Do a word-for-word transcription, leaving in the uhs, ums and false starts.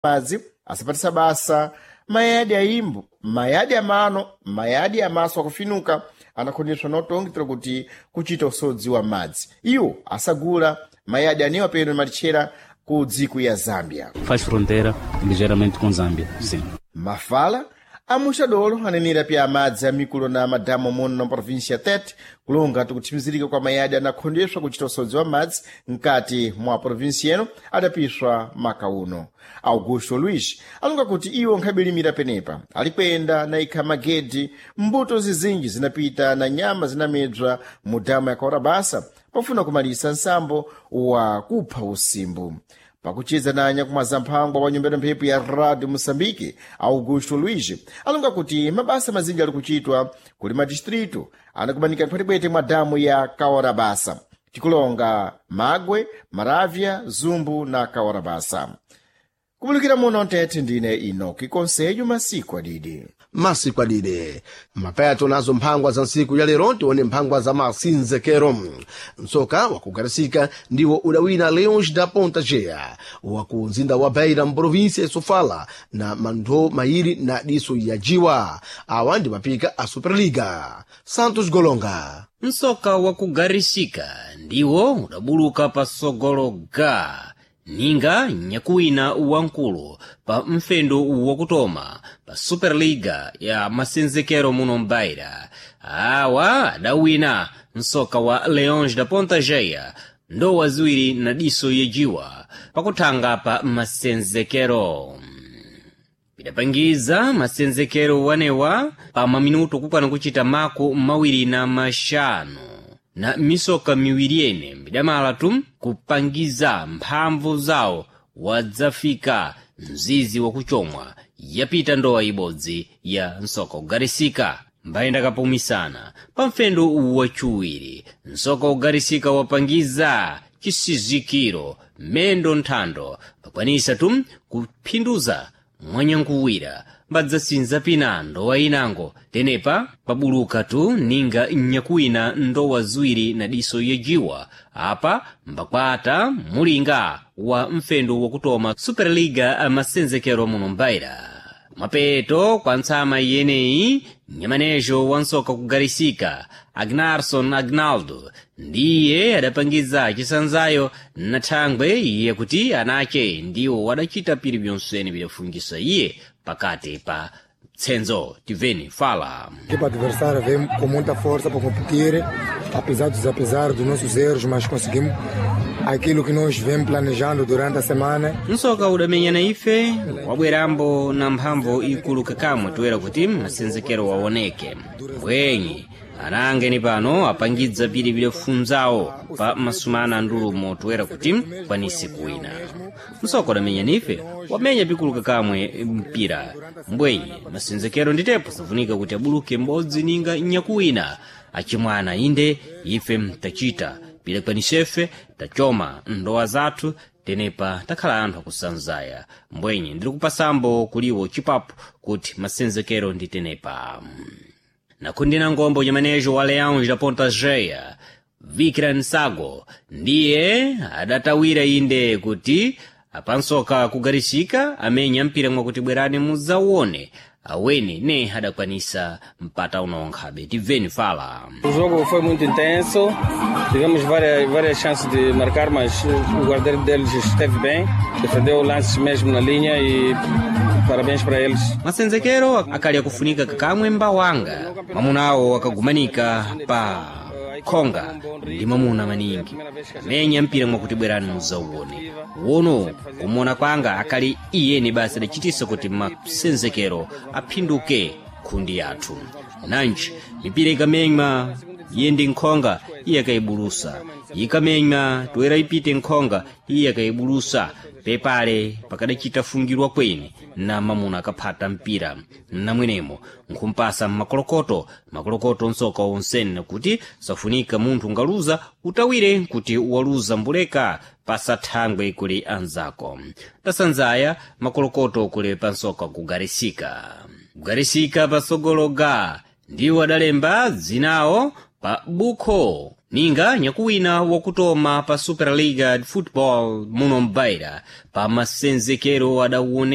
Madzi asapatisa basa mayadi ayimbo, mayadi amano, mayadi amaso akufinuka anakhondeswa notongitira kuti kuchita usodzi wa madzi. Iwo asagula mayadi anewa peno malitchera ku dziko ya Zambia. Faz fronteira ligeiramente com Zâmbia, sim. Mafala amuxadolo anenera pya amadzi amikulo na madamu muno na província ya Tete, kulonga tikutthimizirika kwa mayadi anakhondeswa kuchita usodzi wa madzi mkati mwa província ino adapiswa maka uno. Augusto Luis alonga kuti iwo nkhabelimira penepa alikwenda na ikha magedi mbuto zizinji zinapita na nyama zinamedzwa mu damu ya Kaurabasa pofuna kumalisa nsambo wa kupha usimbu. Pakucheza na nyakumwaza mphangwa wa nyumba ya mphepo ya Radio Moçambique, Augusto Luiz alonga kuti mabasa mazinji ali kuchitwa kuli madistritu anakumanika mphwetepwete mwa damu ya Kaorabasa, tikulonga Magwe, Maravya, Zumbu na Kaorabasa. Kupulukira muno Mtete, ndine Inoki Konseyo masiku adidi. Masiku adide mapeto nazo mphangwa za ntsiku ya lero. Tione mphangwa za masinzekero. Mtsoka wakugarisika ndiwo udawina Leões da Ponta Gea waku mzinda wa Beira mprovinsia ya Sofala na mantho mayiri na diso ya jiwa. Awa ndi mapika a Superliga. Santos Golonga. Msoka wakugarisika ndiwo udabuluka pasogolo ga ninga nyakuwina wankulu pa mfendo wakutoma pa Superliga ya masenzekero muno mbaira. Awa adawina msoka wa Leões da Ponta Geia ndowa ziwiri na diso yejiwa pakuthanga pa masenzekero. Pidapangiza masenzekero wanewa pa maminuto kukwana kuchita mako mawiri na maxanu na misoka miwiri ene mbidamala tu kupangiza mphamvu zawo wadzafika mzizi wakuchomwa yapita ndowa ibodzi ya msoka kugarisika mbayenda kapumisana. Pa mfendo wachiwiri msoka kugarisika wapangiza chisizikiro mendo nthando pakwanisa tu kuphinduza mwanyankuwira mbadzasinza pina ndowa inango, tenepa pabuluka tu ninga nyakuwina ndowa ziwiri na diso yejiwa. Apa mbakwata mulinga wa mfendo wakutoma Superliga amasenzekero muno mbaira. Mapeto kwa ntsama iyeneyi, nyamanejo wansoka kugarisika Agnarson Agnaldo ndiye adapangiza chisanzayo na thangwe iye kuti anache ndiwo wadachita piri byonsene bidafungisa iye pakati pa tsenzo. Tiveni fala. A equipa adversária vem com muita força para competir, apesar dos apesar dos nossos erros, mas conseguimos aquilo que nós vem planejando durante a semana. Msoka udamenya ife wabwerambo na mphamvu ikulu kakamwe toera kuti masenzekero waoneke mbwenyi anangeni pano apangidza piri bilefunzawo pa masumana ndulumo toera kuti kwanise kuwina. Msoka udamenya nife wamenya pikulu kakamwe mpira mbwenyi masenzekero nditepo safunika kuti abuluke m'bodzi ninga nyakuwina achimwana. Inde ife tachita pilekwanisefe, tachoma ndowa zathu, tenepa takhala anthu akusanzaya mbwenyi ndiri kupasambo kuliwo chipapo kuti masenzekero ndi tenepa. Nakhundina ngombo nyamanejo wa Leões da Ponta Geia Vikran Sago ndiye adatawira inde kuti apansoka kugarisika amenya mpira mwakuti bwerani mudzawone aweni ne adakwanisa mpata unonkhabe. Tibveni fala. O jogo foi muito intenso, tivemos várias, várias chances de marcar, mas o guarda-redes deles esteve bem, defendeu lances mesmo na linha e parabéns para eles. Masenzekero akali akufunika kakamwe mbawanga mamunawo akagumanika pa khonga ndi mamuna maningi amenya mpira mwakuti bwerani mudzauone wono kumona kwanga akali iyeni basi adachitisa kuti masenzekero aphinduke khundi yathu. Nanji mipira ikamenya iye ndi nkhonga iye akayibulusa, ikamenya toera ipite nkhonga iye akayibulusa, pepale pakadachita fungirwa kweni na mamuna akaphata mpira namwenemo nkhumpasa makolokoto makolokoto nsoka onsene kuti safunika munthu ungaluza utawire kuti waluza mbuleka pasathangwe kuli anzako. Tasanzaya makolokoto kuli pansoka kugarisika kugarisika pasogologa ndiwo adalemba dzinawo. Pa bukho ninga nyakuwina wakutoma pa Superliga de Football muno mbaira pa masenzekero adawone.